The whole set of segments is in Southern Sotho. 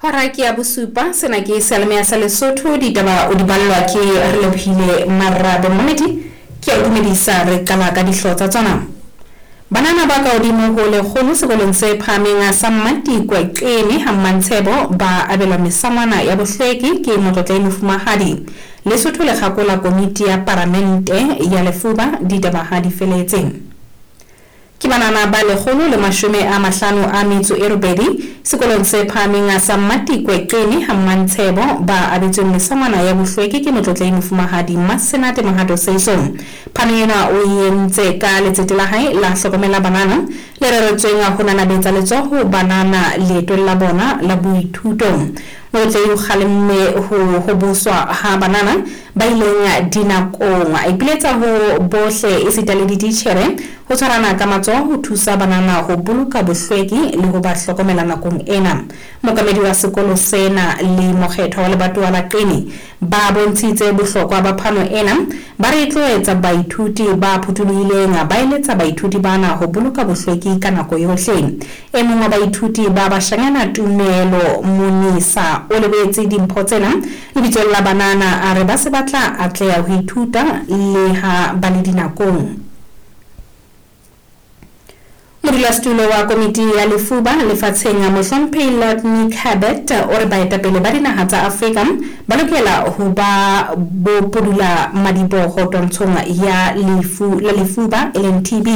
Hora ke ya bosupa, sena ke seyalemoya sa Lesotho, ditaba o di ballwa ke Relebohile Marabe. Momamedi, ke a o dumedisa, re qala ka dihlooho tsa tsona. Banana ba ka hodimo ho lekgolo sekolong se phahameng sa Mmatikwe Qene ha Mmantshebo ba abelwa mesangwana ya bohlweki ke Motlotlehi Mofumahadi. Lesotho le kgakola komiti ya paramente ya lefuba, ditaba ha di feletse. Ke banana ba 158 sekolong se phahameng sa Mmatikwe Qene ha Mmantshebo ba abetsweng mesangwana ya bohlweki ke Motlotlehi Mofumahadi Mmasenate Mohato Seiso. Phano ena o e entse ka letsete la hae la Hlokomela Banana le reretsweng ho nanabetsa letsoho banana leetong la bona la boithuto. Motlotlehi o kgalemme ho hoboswa ha banana ba ileng dinakong. A ipiletsa ho bohle esita le dititjhere ho tshwarana ka matsoho ho thusa banana ho boloka bohlweki le ho ba hlokomela nakong ena. Mookamedi wa sekolo sena le mokgethwa wa lebatowa la Qini ba bontshitse bohlokwa ba phano ena, ba re e tlo etsa baithuti ba phuthulohileng, ba eletsa baithuti bana ho boloka bohlweki ka nako yohle. E mong wa baithuti ba bashanyana Tumelo Monisa o lebohetse dimpho tsena lebitsong la banana, a re ba se ba tla atleha ho ithuta leha ba le dinakong. Modulasetulo wa Komiti ya Lefuba Lefatsheng, Mohlomphehi Lord Nick Herbert, o re baetapele ba dinaha tsa Afrika ba lokela ho ba bo pudula-madiboho twantshong ya lefu la lefuba e leng TB.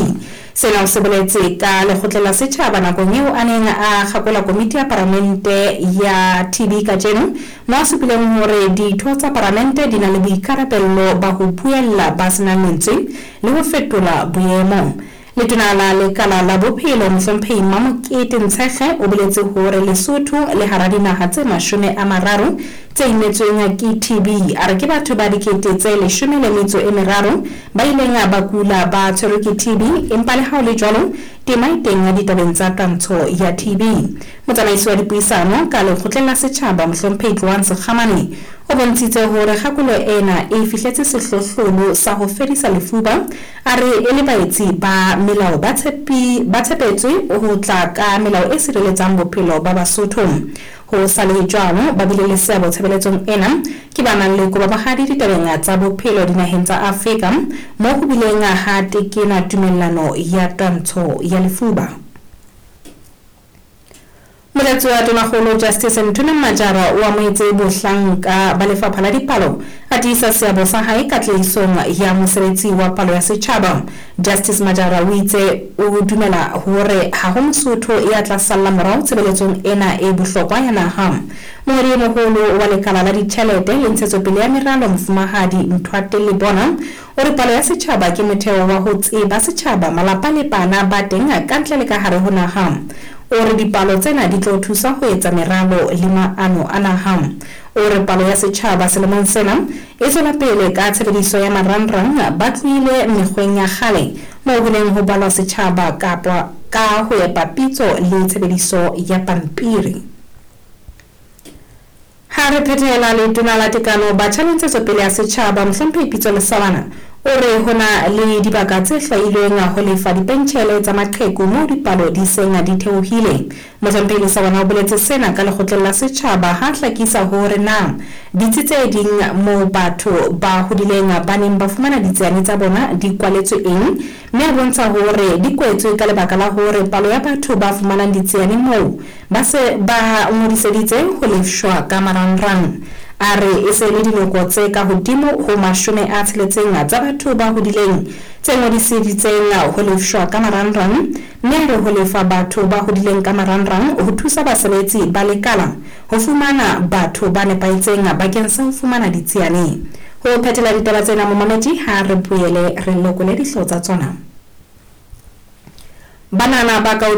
Sena o se boletse ka lekgotleng la setjhaba nakong eo a neng a kgakola komiti ya paramente ya TB kajeno, moo a supileng hore ditho tsa paramente di na le boikarabello ba ho buella ba senang lentswe le ho fetola boemo. Letona la Lekala la Bophelo, Mohlomphehi Mamokete Ntshekge, o boletse hore Lesotho le hara dinaha tse 30 tse imetsweng ke TB. A re ke batho ba 13,000 ba ileng ba kula ba tshwerwe ke TB, empa le ha ho le jwalo, tema e teng ditabeng tsa twantsho ya TB. Motsamaisi wa dipuisano ka Lekgotleng la Setjhaba, Mohlomphehi Tloang Sekgamane, o bontshitse hore kgakolo ena e fihletse sehlohlolo sa ho fedisa lefuba. A re e le baetsi ba melao ba tshepi ba tshepetswe ho tla ka melao e sireletsang bophelo ba Basotho. Ho sa le jwalo, ba bile le seabo tshebeletsong ena ke ba nang le kobabohadi ditabeng tsa bophelo dinaheng tsa Afrika moo ho bileng ha tekenwa tumellano ya twantsho ya lefuba. Motlatsi wa Tonakgolo Justice Nthomeng Majara o amohetse bohlanka ba Lefapha la Dipalo, a tiisa seabo sa hae katlehisong ya mosebetsi wa palo ya setjhaba. Justice Majara o itse o dumela hore ha ho Mosotho ya tla salla morao tshebeletsong ena e bohlokwa ya naha. Mongodi e moholo wa Lekala la Ditjhelete le Ntshetsopele ya Meralo Mofumahadi Nthwate Lebona O re palo ya setjhaba ke motheo wa ho tseba setjhaba, malapa le bana ba teng ka ntle le ka hare ho naha. O re dipalo tsena di tlo thusa ho etsa meralo le maano a naha. O re palo ya setjhaba selemong sena e tswela pele ka tshebediso ya marangrang, ba tlohile mekgweng ya kgale moo ho neng ho balwa setjhaba kapa ka ho epa pitso le tshebediso ya pampiri. Ha re phethela, Letona la Tekano, Batjha le Ntshetsopele ya Setjhaba, Mohlomphehi Pitso Lesawana, o re ho na le dibaka tse hlwailweng ho lefa dipentjhele tsa maqheku moo dipalo di seng di theohile. Mohlomphehi Lesawana o boletse sena ka Lekgotleng la Setjhaba ha a hlakisa hore na ditsi tse ding moo batho ba hodileng ba neng ba fumana ditsiane tsa bona di kwaletswe eng mme a bontsha hore di kwetswe ka lebaka la hore palo ya batho ba fumanang ditsiane moo Ba se ba ngodiseditse ho lefshwa ka marangrang. A re e se e le dinoko tse ka hodimo ho 60 tsa batho ba hodileng tse ngodiseditseng ho lefshwa ka marangrang, mme a re ho lefa batho ba hodileng ka marangrang ho thusa basebetsi ba lekala ho fumana batho ba nepahetseng bakeng sa ho fumana ditsiane. Ho phethela ditaba tsena, momamedi, ha re boele re lekole dihlooho tsa tsona. Banana ba ka hodimo.